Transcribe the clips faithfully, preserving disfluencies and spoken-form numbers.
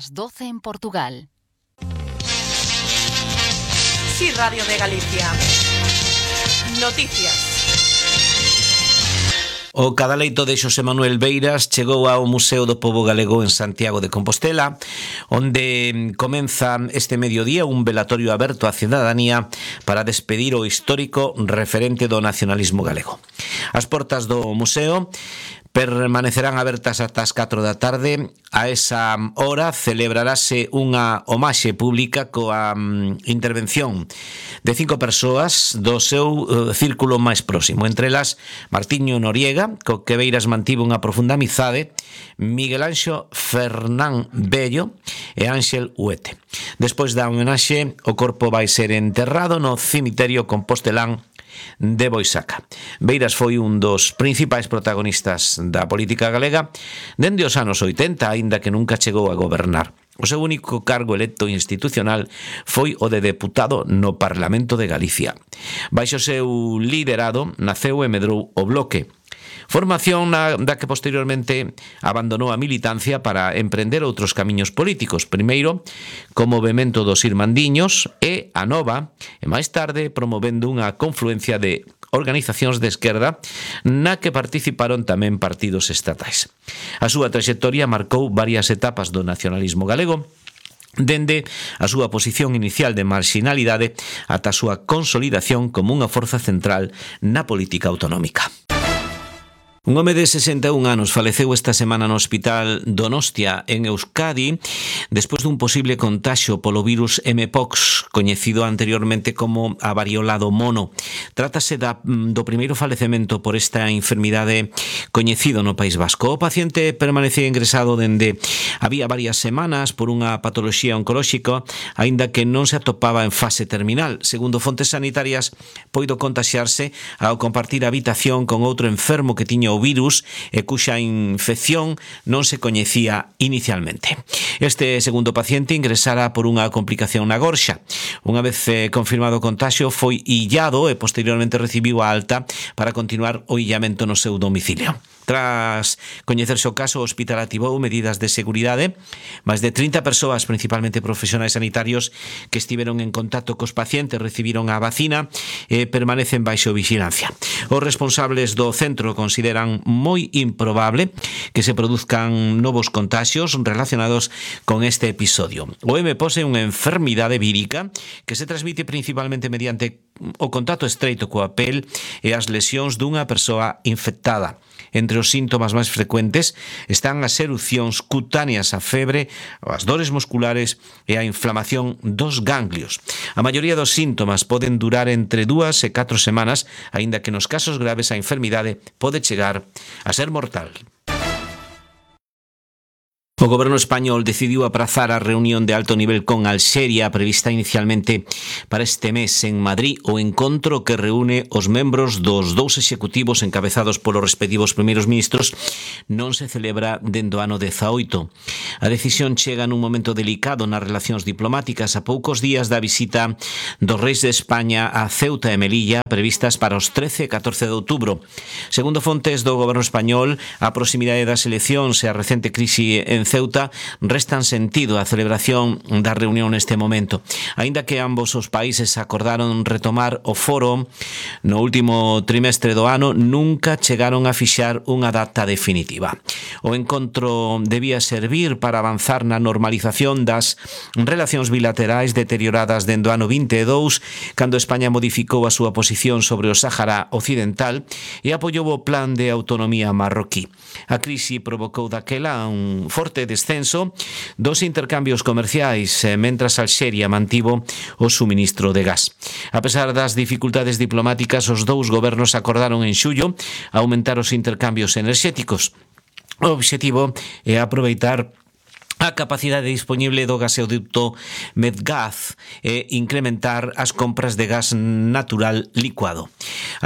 Las doce en Portugal. Sí, Radio de Galicia. Noticias. O cadaleito de Xosé Manuel Beiras chegou ao Museo do Pobo Galego en Santiago de Compostela, onde comeza este mediodía un velatorio aberto á cidadanía para despedir o histórico referente do nacionalismo galego. As portas do museo permanecerán abertas ata as catro da tarde. A esa hora celebrarase unha homaxe pública coa intervención de cinco persoas do seu uh, círculo máis próximo, entre elas Martiño Noriega, co que Beiras mantivo unha profunda amizade, Miguel Anxo Fernán Bello e Ángel Huete. Despois da homenaxe, o corpo vai ser enterrado no cemiterio compostelán de Boisaca. Beiras foi un dos principais protagonistas da política galega dende os anos oitenta, aínda que nunca chegou a gobernar. O seu único cargo electo institucional foi o de deputado no Parlamento de Galicia. Baixo o seu liderado naceu e medrou o Bloque, formación na, da que posteriormente abandonou a militancia para emprender outros camiños políticos, primeiro como movemento dos Irmandiños e a Nova, e máis tarde promovendo unha confluencia de organizacións de esquerda na que participaron tamén partidos estatais. A súa traxectoria marcou varias etapas do nacionalismo galego, dende a súa posición inicial de marxinalidade ata a súa consolidación como unha forza central na política autonómica. Un home de sesenta e un anos faleceu esta semana no Hospital Donostia en Euskadi despois dun posible contaxio polo virus M-Pox, coñecido anteriormente como a variola do mono. Trátase da, do primeiro falecemento por esta enfermidade coñecido no País Vasco. O paciente permanecía ingresado dende había varias semanas por unha patoloxía oncolóxica, aínda que non se atopaba en fase terminal. Segundo fontes sanitarias, poido contaxiarse ao compartir habitación con outro enfermo que tiña o virus e cuxa infección non se coñecía inicialmente. Este segundo paciente ingresara por unha complicación na gorxa. Unha vez eh, confirmado o contaxio, foi illado e posteriormente recibiu a alta para continuar o illamento no seu domicilio. Tras coñecerse o caso, o hospital activou medidas de seguridade. Máis de trinta persoas, principalmente profesionais sanitarios, que estiveron en contacto cos pacientes recibiron a vacina e permanecen baixo vigilancia. Os responsables do centro consideran moi improbable que se produzcan novos contaxios relacionados con este episodio. O M-Pox é unha enfermidade vírica que se transmite principalmente mediante o contacto estreito coa pel e as lesións dunha persoa infectada. Entre os síntomas máis frecuentes están as erupcións cutáneas, a febre, as dores musculares e a inflamación dos ganglios. A maioría dos síntomas poden durar entre dúas e catro semanas, aínda que nos casos graves a enfermidade pode chegar a ser mortal. O goberno español decidiu aprazar a reunión de alto nivel con Alxeria prevista inicialmente para este mes en Madrid, o encontro que reúne os membros dos dous executivos encabezados polos respectivos primeiros ministros non se celebra dende o ano dezaoito. A decisión chega nun momento delicado nas relacións diplomáticas a poucos días da visita dos reis de España a Ceuta e Melilla previstas para os trece e catorce de outubro. Segundo fontes do goberno español, a proximidade das eleccións e a recente crise en Ceuta restan sentido a celebración da reunión neste momento. Aínda que ambos os países acordaron retomar o foro no último trimestre do ano, nunca chegaron a fixar unha data definitiva. O encontro debía servir para avanzar na normalización das relacións bilaterais deterioradas dende o ano vinte e dous, cando España modificou a súa posición sobre o Sáhara Occidental e apoiou o plan de autonomía marroquí. A crise provocou daquela un forte descenso dos intercambios comerciais, mentras Alxeria mantivo o suministro de gas. A pesar das dificultades diplomáticas, os dous gobernos acordaron en xullo aumentar os intercambios enerxéticos. O obxectivo é aproveitar a capacidade disponible do gasoducto Medgaz e incrementar as compras de gas natural licuado.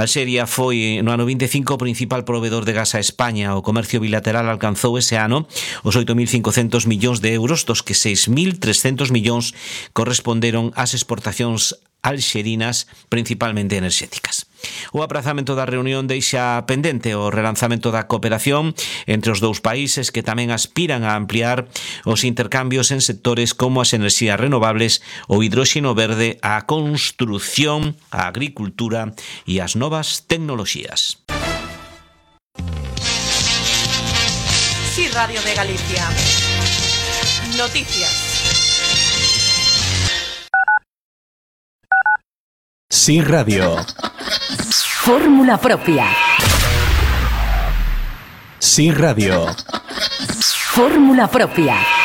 Alxeria foi no ano vinte e cinco o principal proveedor de gas a España. O comercio bilateral alcanzou ese ano os oito mil cincocentos millóns de euros, dos que seis mil trescentos millóns corresponderon ás exportacións alxerinas, principalmente enerxéticas. O aprazamento da reunión deixa pendente o relanzamento da cooperación entre os dous países, que tamén aspiran a ampliar os intercambios en sectores como as enerxías renovables, o hidróxeno verde, a construción, a agricultura e as novas tecnoloxías. Sí, Radio de Galicia. Noticias. Sí, Radio. Fórmula propia. Sí, Radio. Fórmula propia.